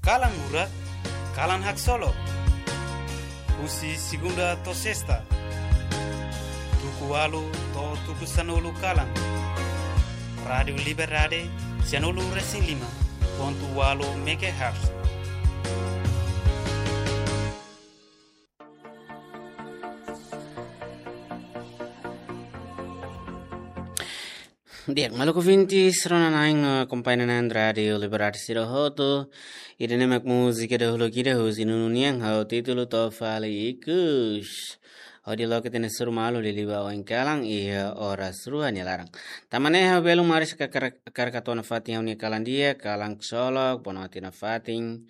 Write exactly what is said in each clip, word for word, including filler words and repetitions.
Kalan Murak, kalan haksolok. Husi segunda to'o sesta, tuku ualu to'o tuku sanulu kalan. Rádiu Liberdade, sianulu resin lima pontu ualu megahertz. Di'ak, maluk ouvintes, rona-na'in, eh, akompaña na'in Rádiu Liberdade sira hotu. Ida-ne'e mak múzika dahuluk ida husi Nunu nian, ho títulu To'o Fali Ikus. Hodi loke ita-nia hasoru malu liuliu ba oin kalan iha oras rua nia laran. Tanba ne'e ha'u belun maris hakarak, hakarak atu hato'o nafatin ha'u-nia kalan di'ak, kalan haksolok, bonote nafatin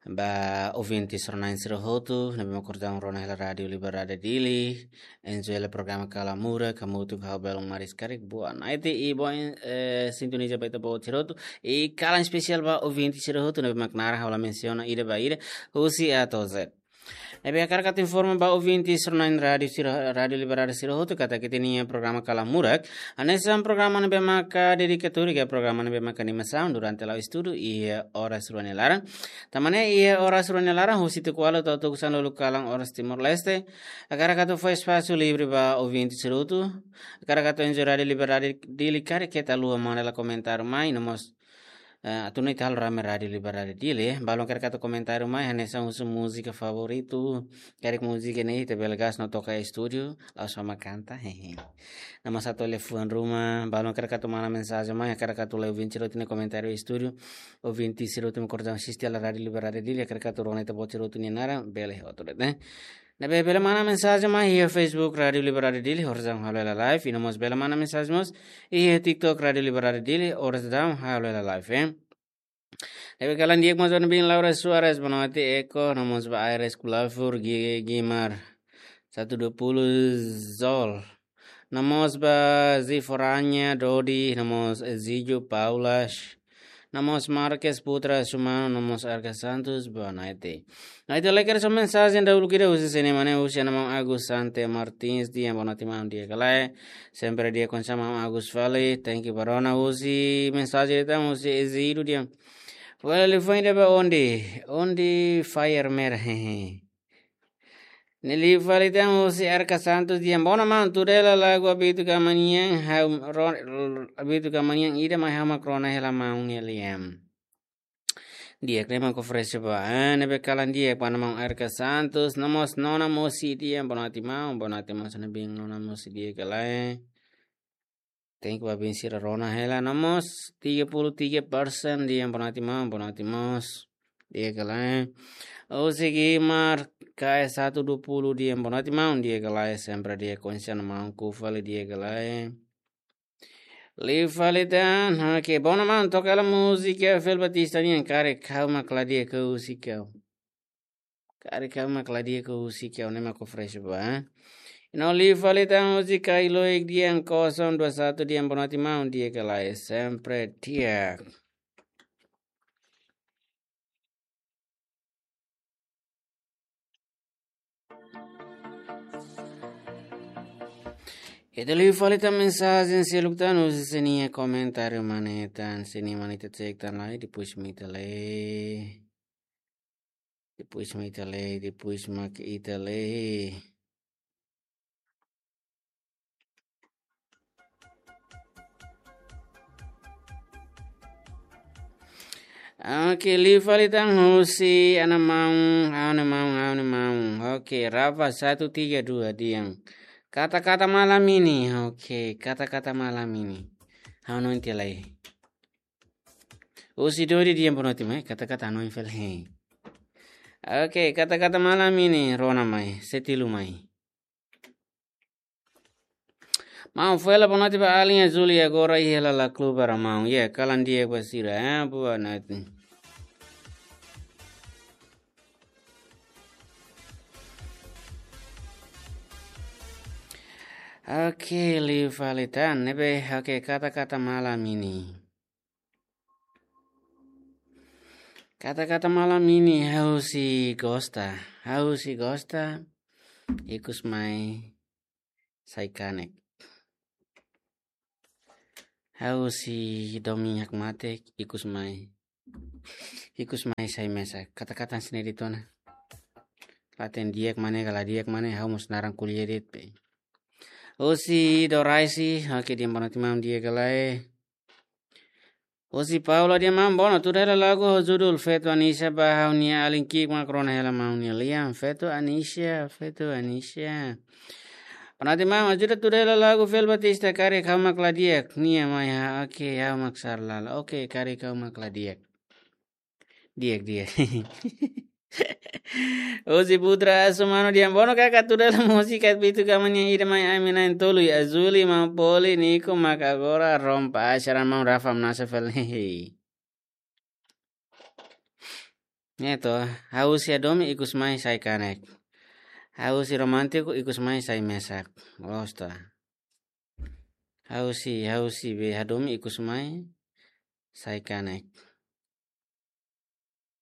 ba ouvintes rona-na'in sira hotu ne'ebé mak kordang rona hela Rádiu Liberdade Dili, enjoy hela programa Kalan Murak, hamutuk ho ha'u belun maris karik boa noite i boa, eh, sintoniza ba ita-boot sira hotu. I kalan espesiál ba ouvinte sira hotu ne'ebé mak naran ha'u la mensiona ida ba ida, husi A to'o Z. Ne'ebé hakarak atu informa ba ouvintes rona-na'in rádiu sira, Rádiu Liberdade sira hotu katak ita-nia programa Kalan Murak hanesan programa ne'ebé maka dedikatóriu ka programa ne'ebé maka animasaun durante la'o estudu iha oras rua nia laran. Tanba ne'e iha oras rua nia laran husi tuku ualu to'o tuku sanulu kalan oras Timor-Leste, hakarak atu fó espasu livre ba ouvinte sira hotu. Hakarak atu enjoy Rádiu Liberdade Dili karik keta haluha manda hela komentáriu mai, no mós, eh, atu nune'e ita halo rame Rádiu Liberdade Dili, eh. Balun hakarak atu komentáriu mai hanesan husu múzika favoritu, karik múzika ne'e ita bele gás no toka iha estúdiu, la'ós ha'u mak kanta, hehe. No mós atu liafuan ruma, balun hakarak atu mana mensajen mai, hakarak atu lee ouvinte sira hotu nia komentáriu iha estúdiu, ouvinte sira hotu mak kordang asiste hela Rádiu Liberdade Dili, hakarak atu rona ita-boot sira hotu nia naran, bele hotu de'it, eh. Ne'ebé bele mana mensajen mai iha Facebook Rádiu Liberdade Dili, oras daudaun halo hela live, i no mós bele mana mensajen mós iha TikTok Rádiu Liberdade Dili, oras daudaun halo hela live, eh. Ne'ebé kalan di'ak mós ba nabin Laura Soares, bonote Eko, no mós ba Aires Kulafur, Gi-, Gimar, satu dua puluh Zol. No mós ba Ziforanya, Dodi, no mós Ezidio, Paulas, no mós Marques Putra Sumano, no mós Arca Santos, boa noite. Ita lee kedas mensajen dahuluk ida husi sira-nia mane husi ana-maun Agus Sante Martins, dehan boa noite maun, di'ak ka lae. Sempre di'ak konsa maun Agus fali, thank you ba rona husi mensajen ida tan husi Ezidio dehan. Fó hela liafuan ida ba Ondi, Ondi Fire Mer, hehe. Nia liu fali tan husi Arca Santos dehan, boa noite maun, tuda hela lagu Habitu Kamanian, ha'u ro-, Habitu Kamanian ida mai ha'u mak rona hela maun nia lian. Di'ak, ne'e mak oferese ba, eh, ne'ebé kalan di'ak ba ana-maun Arca Santos, no mós Nona Mosi dehan, boa noite maun, boa noite maun, sira nabin Nona Mosi, di'ak ka lae. Thank you ba bin sira rona hela, no mós tiga puluh tiga persen dehan boa noite maun, boa noite mós, di'ak ka lae. Husi Gimar K S satu dua puluh dehan boa noite maun, di'ak ka lae, sempre di'ak konsa maun, ku fali di'ak ka lae. Liu fali tan, oke, boa noite maun, toka hela múzika Fel Batista nian, karik ha'u mak la di'ak husi ha'u. Karik ha'u mak la di'ak husi ha'u, ne'e mak oferese ba. No liu fali tan husi Kai Loik dehan kosong dua satu dehan boa noite maun, di'ak ka lae, sempre di'ak. Ita liu fali tan mensajen seluk tan husi sira-nia komentáriu mane tan, sira-nia mane ita cek tan lai, depois mak ita lee. Depois mak ita lee, depois mak ita lee. Oke, liu fali tan husi ana-maun, ha'u-nia maun, ha'u-nia maun. Oke, Rafa satu tiga dua dehan, kata-kata malam ini. Oke, kata-kata malam ini. Ha'u hanoin tiha lai. Husi Dodi dehan boa noite maun, kata-kata hanoin fali. Oke, kata-kata malam ini, rona mai, setilu mai. Maun, fó hela boa noite ba alin Azul, agora iha hela La Club para maun. Ya, kalan di'ak ba sira, eh, boa noite. Oke, liu fali tan, ne'ebé, oke, kata-kata malam ini. Kata-kata malam ini, ha'u sei gosta, ha'u sei gosta, ikus mai sai kanek. Ha'u sei domin hakmatek, ikus mai Ikus mai sai mesak. Kata-kata sini di tona. Laten di'ak mane, kala di'ak mane, ha'u mós naran ko'alia de'it be. Husi Doraisi, oke, di'ak, bonoite maun, di'ak ka lae. Husi Paula, di'ak maun, bonoite, tuda hela lagu ho judul Feto Anisia ba ha'u-nia alin ki'ik mak rona hela maun nia lian. Feto Anisia, Feto Anisia. Bonoite maun, ajuda tuda hela lagu Fel Batista, Karik Ha'u Mak La Di'ak. Nia mai ha, oke, Ha'u Mak Sala La. Oke, Karik Ha'u Mak La Di'ak. Di'ak, di'ak. Husi Putra Asu, mano, di'ak, bonoite, kaka, tuda hela múzika Bitu Gama nian, Ida Mai Ami na'in-tolu, Azuli, Maun Poli, Niko mak agora rompa acara, maun Rafa Mnasa Fel. Ne'e to, ha'u husi hadomi ikus mai sai kanek. Ha'u husi romántiku ikus mai sai mesak. Loos to. Ha'u husi, ha'u husi be hadomi ikus mai sai kanek.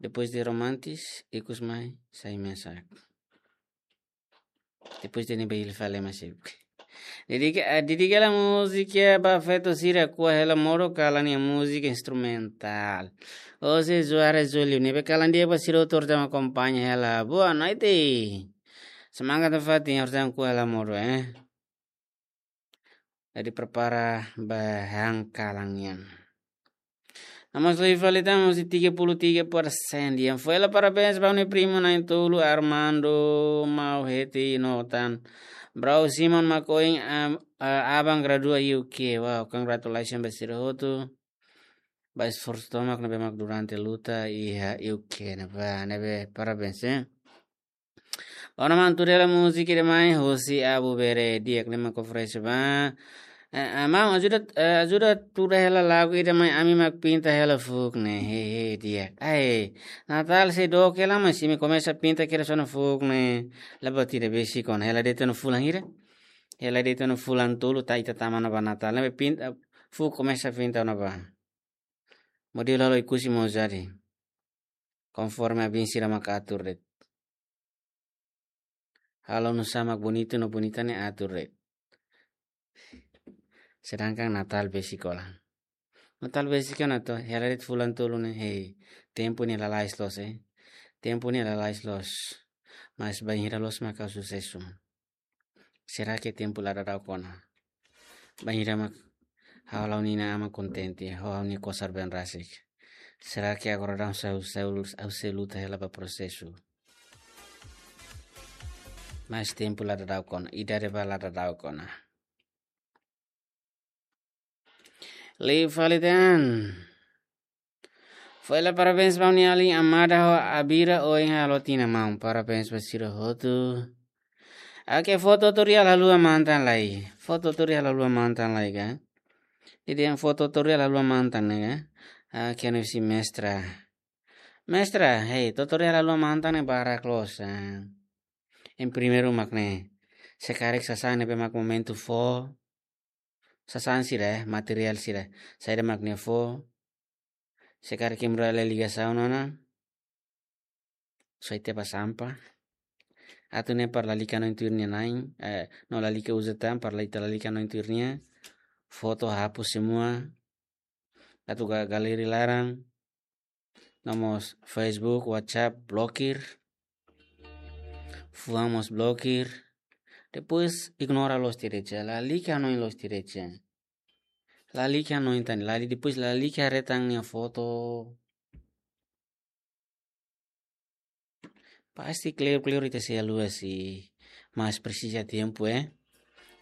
Depois de romántis, ikus mai sai mesak. Depois de ne'ebé hili fali masih. Dedika, eh, dedika hela múzika ba feto sira, Kua Hela Modo, kalan nia múzika instrumentál. José Soares Júlio, ne'ebé kalan di'ak ba sira hotu mak akompaña hela. Boa noite. Semangat nafatin, hotu mak Kua Hela Modo, eh. Jadi prepara ba han kalan nian. Nomós liu fali tan, husi tiga puluh tiga persen di'ak. Foin hela parabéns ba ha'u-nia primu na'in-tolu Armando, Mau Heti no tan. Brau Simon mak ohin am-, a-, aban gradua U K. Wow, congratulations ba sira hotu. Ba esforsu tomak ne'ebé mak durante luta iha U K ne'ebá, ne'ebé parabéns, eh. Ona maun, tuda hela múzika Ida Mai husi Abu Bere, di'ak, ne'e mak oferese ba. Eh, eh, maun, ajuda, eh, ajuda tuda hela lagu Ida Mai Ami mak pinta hela fuuk ne'e. He, he, di'ak. Ai, Natál sei dook hela, mas imi komesa pinta kedas ona fuuk ne'e. La buat ida besik ona, hela de'it ona fulan hira. Hela de'it ona fulan tolu, ita tama ona ba Natál. Ne'ebé pinta, fuuk komesa pinta ona ba. Modelu halo Oekusi mós jadi. Konforme abin sira mak atur de'it. Halo nu'usá mak bonitu no bonita ne'e atur de'it. Sedangkan Natál besik ona. Natál besik ona to, hela de'it fulan tolu ne'e, hei, tempu ne'e lalais loos, eh. Tempu ne'e lalais loos. Mas bainhira loos mak ha'u susesu? Será que tempu la daudauk ona? Bainhira mak ha'u halo ha'u-nia inan-aman kontente, ha'u halo ha'u-nia kosar been rasik. Será que agora daudaun ha'u, ha'u, ha'u sei luta hela ba prosesu? Mas tempu la daudauk ona, idade ba la daudauk ona. Liu fali tan. Foin hela parabéns ba ha'u-nia alin Amada ho Abira ohin halo tinan maun. Parabéns ba sira hotu. Oke, foto tutorial haluha mantan lai. Foto tutorial haluha mantan lai ka. Jadi yang foto tutorial haluha mantan ne'e ka. Oke, anu si mestra. Mestra, hei, tutorial haluha mantan ne'e barak loos, ah. Yang primeiru mak ne'e. Se karik sasán ne'ebé mak momentu fó. Sasán sira, eh, materiál sira. Saida mak nia fó. Se karik kemura la ligasaun ona. Soe tiha ba sampah. Atu ne'e para lalika hanoin tuir nia na'in, eh, no lalika uza tan, para ita lalika hanoin tuir nia. Foto hapus semua. Atu ga-, galeri laran. Nomós Facebook, WhatsApp, blokir. Fuan mós blokir. Depois ignora loos derecha, lalika hanoin loos derecha. Lalika hanoin tan, lali, depois lalika haree tan nia foto. Pasti kleur-kleur ita sei haluha sih, mas presiza tempu, eh.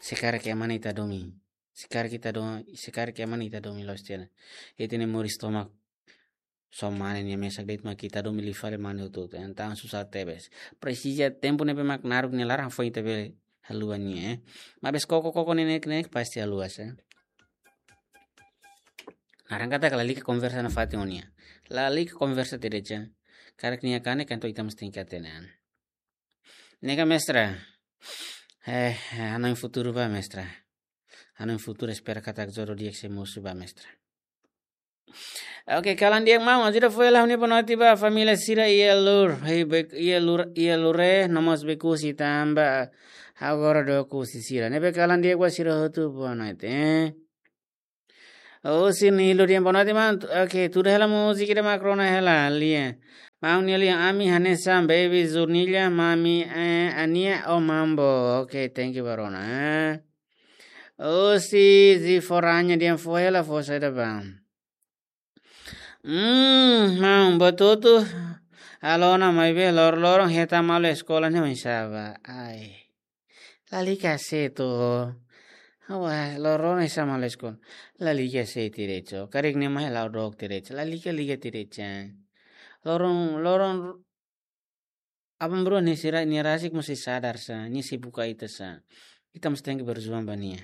Se karik ema ne'e ita hadomi. Se karik ita hadomi, se karik ema ne'e ita hadomi loos tiha ona. Ita-nia moris tomak só mane nia mesak de'it mak ita hadomi liu fali mane hotu-hotu. Entaun susar tebes. Presiza tempu ne'ebé mak naruk nia laran foin ita bele haluha nia, eh. Maibé koko-koko ne'e ne'e pasti haluha sá. Naran katak lalika konversa nafatin ho nia. Lalika konversa derecha. Karik nia kanek, entaun ita mós tenke hatene an. Ne'e ka mestra. Eh, hanoin futuru ba mestra. Hanoin futuru, espera katak jodoh di'ak sei mosu ba mestra. Oke, kalan di'ak maun, ajuda foin hela ha'u-nia boa noite ba família sira iha Lur, hei, Be-, iha Lur, iha Lure, nomós Bekusi tanba agora dook husi sira. Ne'ebé kalan di'ak ba sira hotu, boa noite, eh. Oh, sini lo dia bonote man. Oke, tuda hela múzika ida mak rona hela, lia. Maun nia lia, ami hanesan baby Zurnilla, mami, eh, Ania, oh, mambo. Oke, thank you ba rona, eh. Oh, si, si foranya dia fó hela, fó saida bang. Hmm, maun, betul tu. Alona mai be, lor-, loron heta malu eskola ne mai saba. Ai. Lalika se tu. Awa, loron esa malu eskola. Lalika se tirecho. Karik ne mai lau dok tirecho. Lalika liga tirecho. Loron, loron, aban-bainrua nia sira, nia rasik mós sei sadar sa, nia sei buka ita sa. Ita mós tenke berjuang ba nia.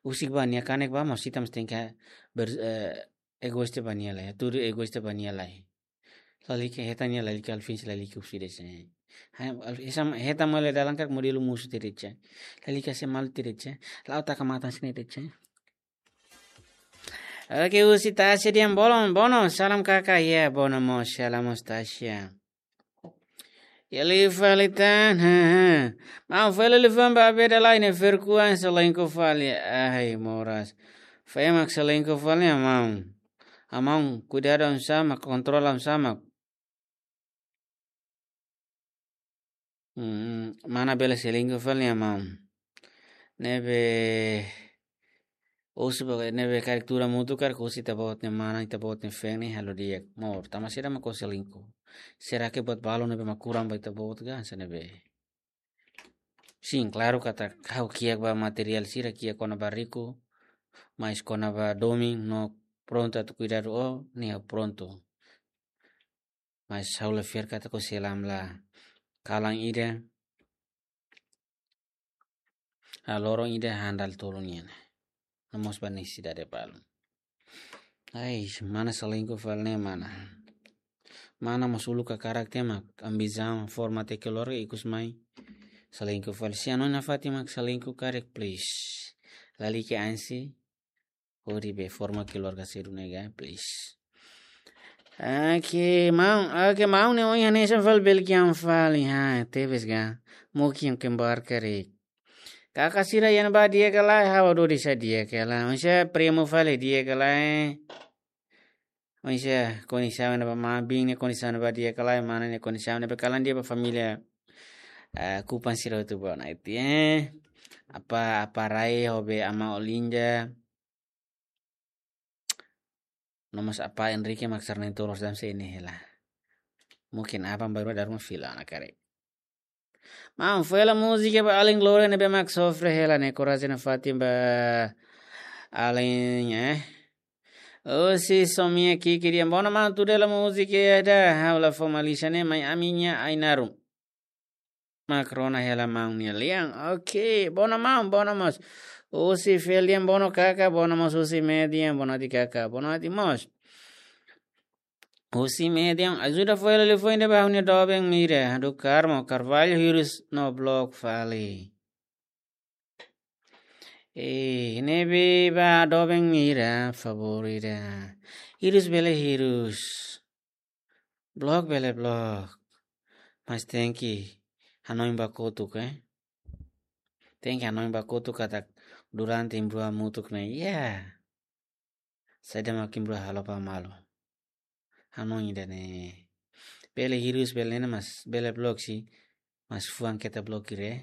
Husik ba nia kanek ba mós ita mós tenke ber-, eh, egoísta ba nia lai. Tudu egoísta ba nia lai. Lalika heta nia lalika alfin lalika husi desa. Hai, al-, esa heta malu dalan karik modelu musu tirecho. Lalika se malu tirecho. Lau taka matan sini tirecho. Oke, husi Tasya dia bono, bono, salam kakak, ya, bono mós, salam mós Tasya. Ya, liu fali tan, ha, ha. Maun fali liu fali ba beda lai ne ferkuan selingkuh fali, ai, moras. Fai mak selingkuh fali, amaun. Amaun, kuidadu oinsá mak, kontrola oinsá mak. Hmm, mana bele selingkuh fali, amaun. Ne'ebé, osu ba, ne'ebé karik tuur hamutuk karik husi ita-boot nia mana, ita-boot nia feen ne'e halo di'ak. Maun, tanba saida mak ó selingkuh? Será ke buat balu ne'ebé mak kurang ba ita-boot ka, hanesan ne'ebé? Sin, klaru katak ha'u kiak ba materiál sira, kiak kona-ba riku, mais kona-ba domin no prontu atu kuidadu ó, ne'e ha'u prontu. Mais ha'u la fiar katak ó sei lam la kalan ida, ah, loron ida handal tolu nian. No mós ba nesesidade balu. Ai, mana selingkuh fali ne'e mana. Mana mós uluk hakarak tiha mak ambisaun forma tiha keluarga ikus mai selingkuh fali. Se hanoin nafatin mak selingkuh karik, please. Lalika ansi, hodi be forma keluarga sedu nega, please. Oke, maun, oke, maun ne'e ohin hanesan fali Belgian fali, ha, tebes ga. Mungkin kembar karik. Kakak sira iha ne'ebá di'ak ka lae, ha'u duni sá di'ak ka lae. Maibé primo fali di'ak ka lae. Maibé kondisaun ne'ebá mabin ne'e kondisaun ne'ebá di'ak ka lae, mana ne'e kondisaun ne'ebá kalan di'ak ba família. Ah, kupan sira tu ba na iti, eh. Apa, apa Rai ho be ama Olinda. No mós apa Enrique mak sarnen tolos dam se ini hela. Mungkin apa baru daru fila na kare. Maun, fó hela múzika ba alin Gloria ne'ebé mak sofre hela ne'e, korajen nafatin ba alin, eh. Oh, si Somia Kiki dia. Bono maun, tuur hela múzika ya da. Ha'u la fó malísia ne'e, mai ami-nia Ainarun. Mak rona hela maun nia lian. Oke, bono maun, bono mós. Husi Felian, bono kakak, bono mós husi Median, bono ati kakak, bono ati mós. Husi Median, ajuda fó hela liafuan ida ba ha'u-nia doben Mira, do Carmo, Carvalho, hirus no blok fali. Eh, ne'ebé ba doben Mira, favór ida. Hirus bele hirus. Blok bele blok. Mas tenke hanoin ba kotuk, eh. Tenke hanoin ba kotuk katak durante imi rua hamutuk ne'e. Ya. Saida mak imi rua halo ba malu. Hanoin ida-ne'e. Bele hirus bele ne'e mas, bele blok si. Mas fuan keta blokir, eh.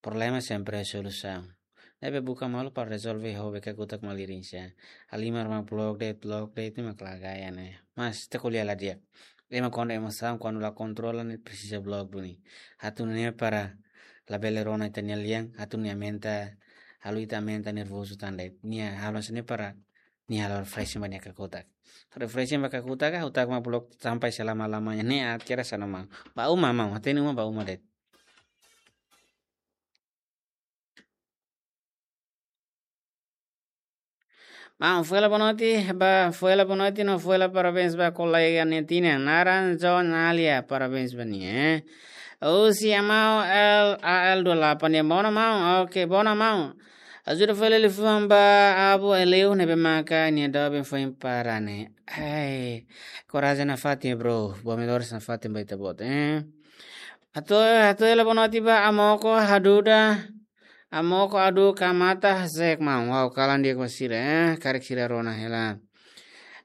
Problema sempre solusaun. Ne'ebé buka malu para rezolve ho be kakutak malirin sa. Halimar mak blok de'it, blok de'it ne'e mak la gaya ne'e. Mas ita ko'alia la di'ak. Ema kuandu emosaun, kuandu la kontrola ne'e presiza blok duni. Atu nune'e para labele rona ita-nia lian, atu nia aumenta, halo ita aumenta nervozu tan de'it. Nia halo hanesan ne'e para nia halo refreshing ba nia kakutak. Refreshing ba kakutak, ah, kakutak mak blok sampai selama-lamanya. Ne'e akhirnya sana maun. Ba uma maun, hatene uma ba uma de'it. Maun, fó hela boa noite, ba, fó hela boa noite, no fó hela parabéns ba kolega nia tinan. Naran John Alia, parabéns ba nia, eh. Husi Amau L A L dua delapan nia, bono maun, oke, bono maun. Ajuda fó hela liafuan ba Abu Eleu ne'ebé maka nia doben foin para ne'e. Ai, korajen nafatin, bro. Boa melhoras nafatin ba ita-boot, eh. Hato'o, hato'o hela boa noite ba Amoko Haduda. Amoko adu kamata sek maun. Wow, kalan di'ak ba sira, eh. Karik sira rona hela.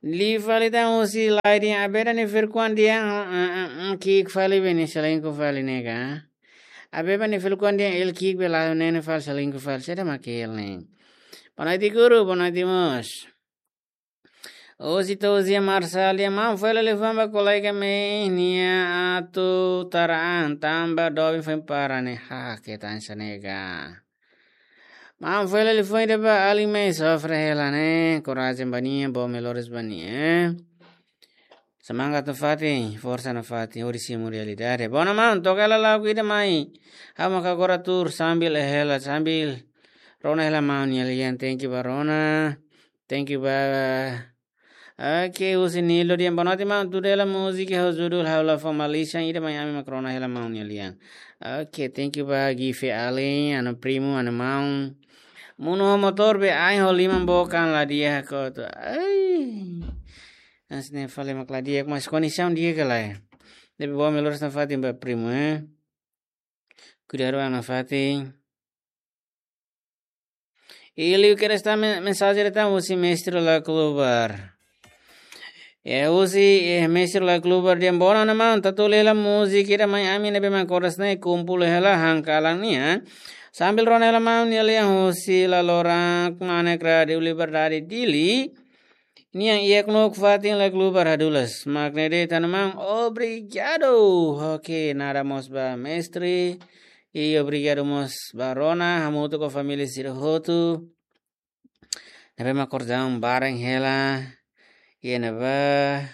Liu fali tan husi Lae nian, Abeba nia fali kuan di'ak, eh, eh, eh, ki'ik fali be nia selingkuh fali ne'e ka. Abeba nia fali kuan di'ak, el ki'ik be la nene fali selingkuh fali. Saida mak el ne'e. Boa noite guru, boa noite mós. Husi Tosia Marsal nian, maun fó hela liafuan ba kolega mai nia atu tara an tanba doben foin para ne'e. Ha, ke tan sa ne'e ka. Maun fó hela liafuan ida ba alin mai sofre hela ne'e. Korajen ba nia, boa melhoras ba nia, eh. Semangat nafatin, forsa nafatin, hodi simu realidade. Boa maun, toka hela lagu ida mai. Ha'u maka agora tuur sambil hela, sambil rona hela maun nia lian, thank you ba rona. Thank you ba. Oke, husi Nilo nian, boa noite maun, tuur hela múzika ho judul Ha'u La Fó Malisan ida mai ami mak rona hela maun nia lian. Oke, thank you ba Gife alin, anu primu, anu maun. Monu ho motór be ain ho liman bokan la di'ak kotu. Ai. Hanesan ne'e fali mak la di'ak, mas kondisaun di'ak ka lae. Ne'ebé boa melhoras nafatin ba primu, eh. Kuidadu an nafatin. I liu kedas tan men-, mensajen ida tan husi Mestre La Klubar. Ya, husi, eh, Mestre La Klubar nian, boa maun, tatu hela múzika ida mai ami ne'ebé mak koras ne'e kumpul hela han kalan nian. Sambil rona hela maun nia lian husi Lalorak Manek Rádiu Liberdade Dili. Nia iha knuuk fatin La Klubar hadulas. Mak ne'e de'it tan maun, obrigadu. Oke, nada mós ba mestre. I obrigadu mós ba rona, hamutuk ho família sira hotu. Ne'ebé mak korazaun bareng hela. Iha ne'ebá,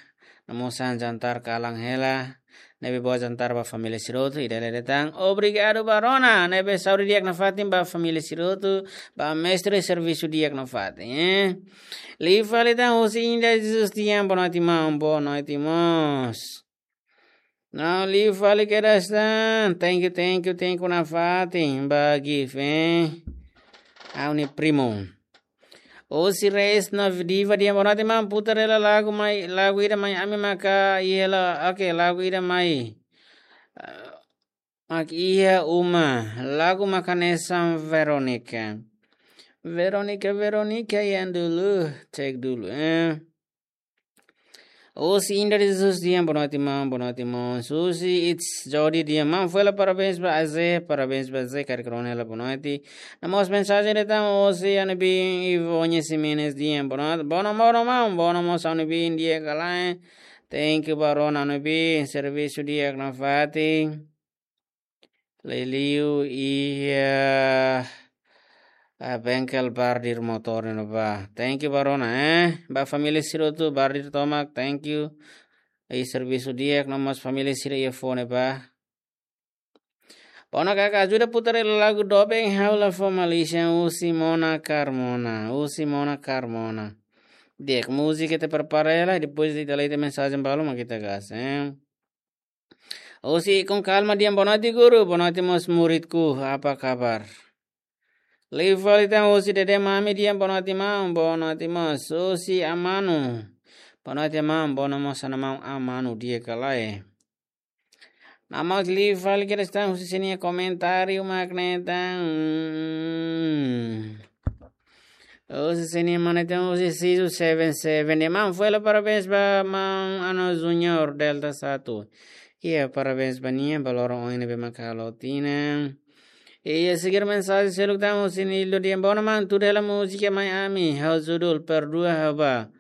no mós han jantar kalan hela. Ne'ebé boa jantar ba família sira hotu, i dala ida tan. Obrigadu ba rona, ne'ebé saúde di'ak nafatin ba família sira hotu, ba mestre servisu di'ak nafatin, eh. Liu fali tan husi Inda Jesus nian, boa noite maun, boa noite mós. No, liu fali kedas tan, thank you, thank you, thank you nafatin, ba Gife, eh. Ha'u-nia primu. Husi Reis na Diva nian, boa noite maun, putar hela lagu mai, lagu ida mai ami maka iha hela, oke, lagu ida mai. Ah, mak iha uma, lagu mak hanesan Veronica. Veronica, Veronica yang dulu, cek dulu, eh. Husi Inda Jesus nian, boa noite maun, boa noite maun. Husi It's Jody nian, maun fó hela parabéns ba Aze, parabéns ba Aze, karik rona hela boa noite. No mós mensajen ida tan husi ami-nia bin Ivone Ximenes nian, boa noite, boa maun, boa maun, boa maun, ami-nia bin di'ak ka lae. Thank you ba rona ami-nia bin, servisu di'ak nafatin. Liuliu iha, ah, bengkel bardir motór ne'ebá. Thank you ba rona, eh. Ba família sira hotu bardir tomak, thank you. I servisu di'ak no mós família sira iha foun ne'ebá. Boa maun, kaka ajuda putar hela lagu doben Ha'u La Fó Malisan husi Mona Carmona, husi Mona Carmona. Di'ak, múzika ita prepara hela, depois ita lee ita mensajen balu mak ita gas, eh. Husi Ikun Kalma nian, boa noite guru, boa noite mós muridku, apa kabar? Liu fali tan husi Dede Mami nian, boa noite maun, boa noite mós. Husi Amanu, boa noite maun, boa noite mós, ana maun Amanu, di'ak ka lae. No mós liu fali kedas tan husi sira-nia komentáriu mak ne'e tan. Husi sira-nia mane tan husi Sisu seven seven nian, maun fó hela parabéns ba maun Ano Junior Delta satu. Iha parabéns ba nia, ba loron oin ne'ebé mak halo tinan. Iha seguir mensajen seluk tan husi Nilo nian, boa maun, tuur hela múzika mai ami, ho judul Perdua Ha'u Ba.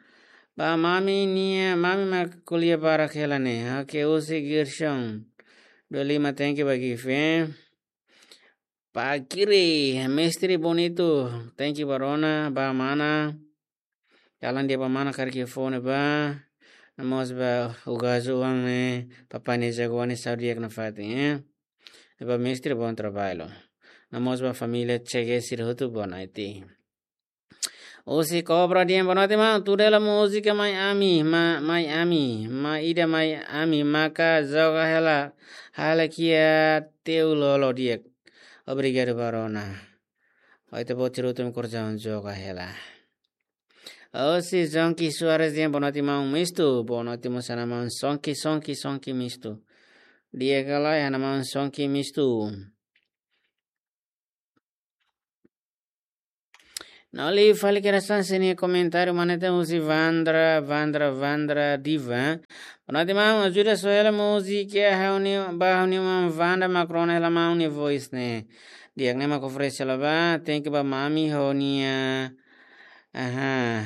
Ba mami nia, mami mak ko'alia barak hela ne'e. Oke, husi Gerson dua lima, thank you ba Gife. Ba Kiri, mestre bonitu, thank you ba rona, ba mana. Kalan di'ak ba mana karik iha foun ne'ebá. No mós ba Ugazu Wang ne'e, papai nia jagoan ne'e saúde di'ak nafatin, eh. Ba mestre, bom trabalho. No mós ba família Chegue sira hotu, boa noite. Husi Cobra nian, boa noite maun, tuur hela múzika mai ami, ma, mai ami, ma ida mai ami, maka joga hela, hela kiak teu lolo di'ak. Obrigadu ba rona. Oite bo tiru tum korjaun joga hela. Husi Zonki Soares nian, boa noite maun mistu, boa noite mós ana maun Sonki, Sonki, Sonki mistu. Di'ak ka lae, ana maun Sonki mistu. No liu fali kedas tan sira-nia komentáriu, maun Nathan husi Vandra, Vandra, Vandra Diva. Bonoite maun, ajuda soe hela múzika ha'u-nia, ba ha'u-nia maun Vanda mak rona hela maun nia voice ne'e. Di'ak, ne'e mak oferese hela ba, thank you ba mami ho nia. Aha.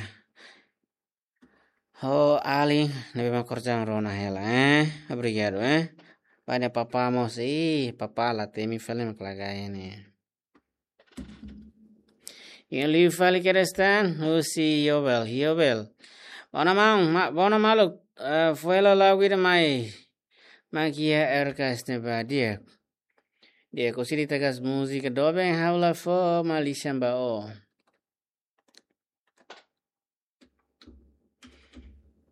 Ho alin ne'ebé mak korjan rona hela, eh. Obrigadu, eh. Ba nia papá mós, ih, papá la temi fali mak lagai ne'e. Iha liu fali kedas tan, husi Yobel, Yobel. Bona maun, ma-, bona maluk, eh, fó hela lagu ida mai. Mak iha R K S ne'ebá di'ak. Di'ak, husik ita gas múzika doben ha'u la fó malisan ba ó.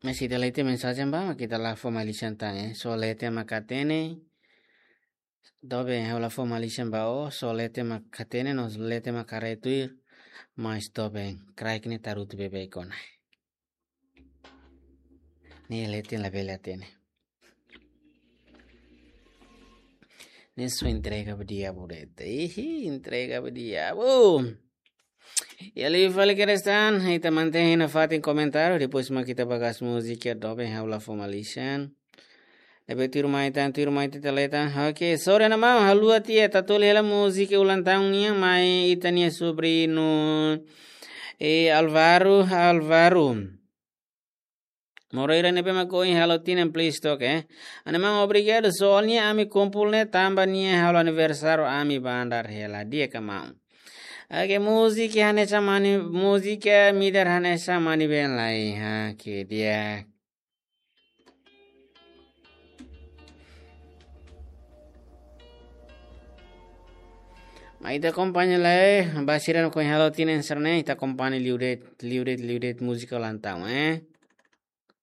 Mas ita leten mensajen ba, mak ita la fó malisan tan, eh. Só leten mak hatene. Doben, ha'u la fó malisan ba ó, só leten mak hatene, no leten mak haree tuir. Mas doben, kraik ne'e tarutu beibeik ona. Ne'e leten labele hatene. Ne'e só entrega ba diabu de'it. Ihi, entrega ba diabu. Iha liu fali kedas tan, ita mantein iha fatin komentáriu, depois mak ita ba gas múzika doben ha'u la fó malisan. Ne'ebé tuirmai tan, tuirmai tan ita leten. Ok, sorry ona maun, haluha tiha, ita toli hela múzika ulang tahun nian mai ita-nia sobriñu. Eh, Alvaro, Alvaro Moreira ne'ebé mak ohin halo tinan, please toke, eh. Ha'u-nia maun obrigadu, soalnya ami kumpul ne'e tanba nia halo aniversáriu ami bandar hela, di'ak ka maun? Oke, múzika hanesan mani, múzika midar hanesan mani ben lai. Oke, di'ak. Mai ita akompaña lai, ba sira-ne'ebé ohin halo tinan sira-ne'e, ita akompaña liu de'it, liu de'it, liu de'it múzika ulang tahun, eh.